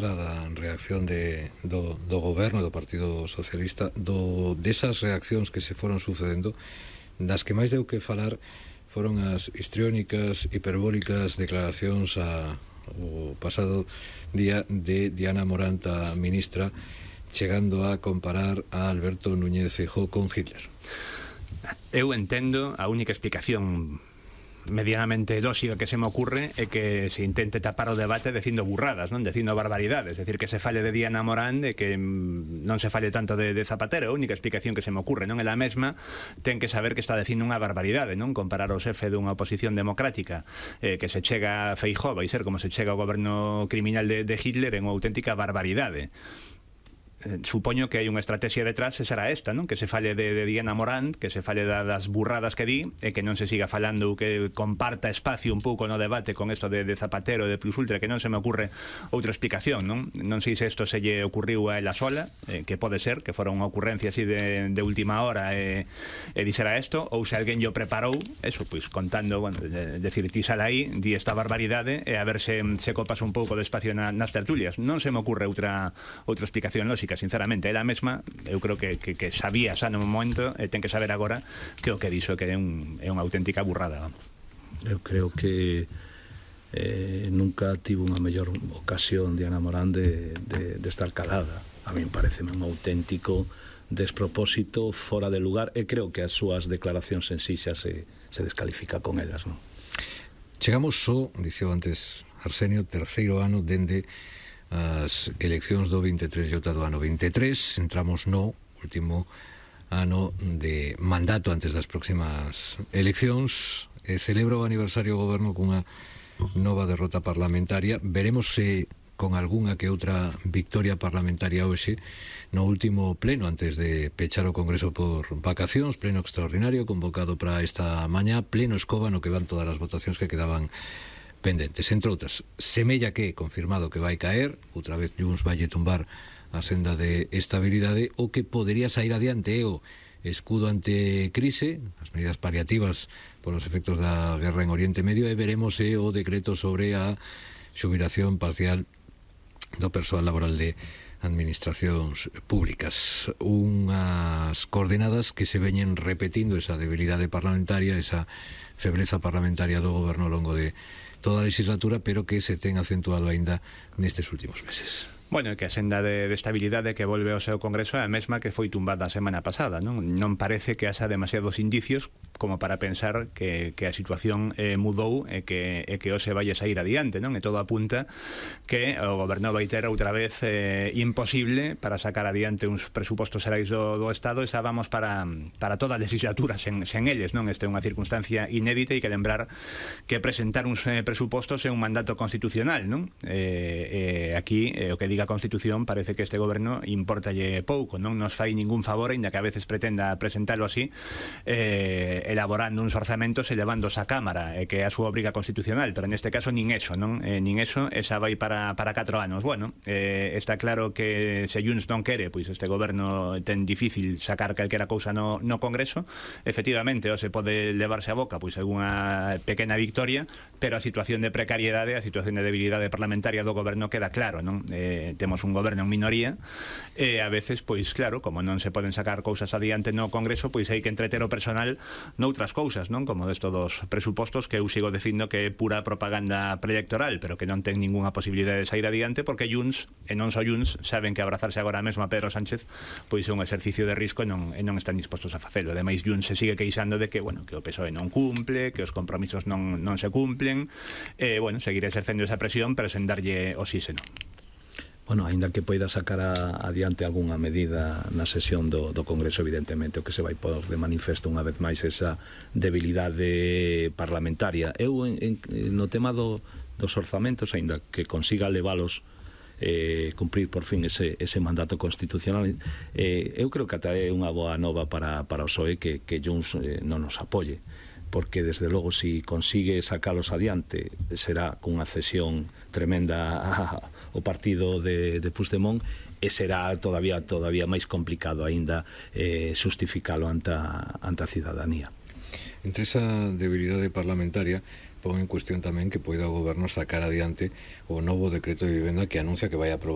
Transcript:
da reacción do goberno do Partido Socialista, desas reaccións que se foron sucedendo, das que máis deu que falar foron as histriónicas, hiperbólicas declaracións o pasado día de Diana Morant, a ministra, chegando a comparar a Alberto Núñez Feijóo con Hitler. Eu entendo, a única explicación medianamente lógica que se me ocurre é que se intente tapar o debate dicindo burradas, non? Dicindo barbaridades, é dicir, que se fale de Diana Morán e que non se fale tanto de Zapatero. A única explicación que se me ocurre, non? Ela mesma ten que saber que está dicindo unha barbaridade, non? Comparar o xefe dunha oposición democrática que se chega a Feijóo, vai ser como se chega ao goberno criminal de Hitler, en unha auténtica barbaridade. Supoño que hai unha estrategia detrás e será esta, non? Que se fale de Diana Morant, que se fale das burradas que di e que non se siga falando, que comparta espacio un pouco no debate con isto de Zapatero, de Plus Ultra, que non se me ocurre outra explicación, non? Non sei se isto se lle ocurriu a ela sola, que pode ser, que fora unha ocurrencia así de última hora e dixera isto, ou se alguén yo preparou, eso, pois contando, bueno, decir, ti sal aí, di esta barbaridade e a ver se copas un pouco de espacio nas tertulias. Non se me ocurre outra explicación lógica, sinceramente. Ela mesma, eu creo que sabía xa no momento e ten que saber agora que o que dixo que é unha auténtica burrada, vamos. Eu creo que nunca tivo unha mellor ocasión Diana Morán de estar calada. A mí pareceme un auténtico despropósito, fora de lugar, e creo que as súas declaracións en sí xa se descalifica con elas, non? Chegamos só, dixo antes Arsenio, terceiro ano dende as eleccións do 23 e outra do ano 23. Entramos no último ano de mandato antes das próximas eleccións e celebra o aniversario do goberno cunha nova derrota parlamentaria. Veremos se con algunha que outra victoria parlamentaria hoxe no último pleno antes de pechar o Congreso por vacacións, pleno extraordinario convocado para esta mañá, pleno escoba no que van todas as votacións que quedaban pendentes. Entre outras, semella que confirmado que vai caer, outra vez Junts vai tumbar a senda de estabilidade. O que podería sair adiante é o escudo ante crise, as medidas paliativas polos efectos da guerra en Oriente Medio, e veremos o decreto sobre a xubilación parcial do persoal laboral de administracións públicas. Unhas coordenadas que se veñen repetindo, esa debilidade parlamentaria, esa febreza parlamentaria do goberno ao longo de toda a legislatura, pero que se ten acentuado aínda nestes últimos meses. Bueno, que a senda de estabilidade que volve ao seu Congreso é a mesma que foi tumbada a semana pasada, non? Non parece que haxa demasiados indicios como para pensar que a situación mudou e que hoxe vai a sair adiante, non? E todo apunta que o goberno vai ter outra vez imposible para sacar adiante uns presupostos xerais do Estado, e xa vamos para toda a legislatura sen eles, non? Esta é unha circunstancia inédita e que lembrar que presentar uns presupostos é un mandato constitucional, non? Aquí o que diga a Constitución parece que este goberno importalle pouco, non nos fai ningún favor, ainda que a veces pretenda presentalo así, elaborando uns orzamentos e levándos á Cámara, que é a súa obriga constitucional, pero neste caso nin eso, non? Nin eso, esa vai para 4 anos. Bueno, está claro que se Junts non quere, pois este goberno ten difícil sacar calquera cousa no Congreso. Efectivamente, se pode levarse a boca pois algunha pequena victoria, pero a situación de precariedade, a situación de debilidade parlamentaria do goberno queda claro, non? Temos un goberno en minoría e a veces, pois claro, como non se poden sacar cousas adiante no Congreso, pois hai que entreter o personal noutras cousas, non? Como desto dos presupostos, que eu sigo dicindo que é pura propaganda preelectoral, pero que non ten ningunha posibilidade de sair adiante, porque Junts, e non só Junts, saben que abrazarse agora mesmo a Pedro Sánchez pois é un exercicio de risco e non están dispostos a facelo. Ademais, Junts se sigue queixando de que, bueno, que o PSOE non cumple, que os compromisos non se cumplen, e, bueno, seguir exercendo esa presión, pero sen darlle oxígeno. Bueno, aínda que poida sacar adiante algunha medida na sesión do Congreso, evidentemente o que se vai pôr de manifesto unha vez máis esa debilidade parlamentaria. Eu, no tema dos orzamentos, aínda que consiga levalos cumprir por fin ese mandato constitucional, eu creo que ata é unha boa nova para o PSOE que Junts non nos apoie, porque desde logo si consigue sacalos adiante será cunha cesión tremenda ao partido de Puigdemont, e será todavía máis complicado aínda xustificalo ante a cidadanía. Entre esa debilidade parlamentaria pon en cuestión tamén que poida o goberno sacar adiante o novo decreto de vivenda que anuncia que vai aprobar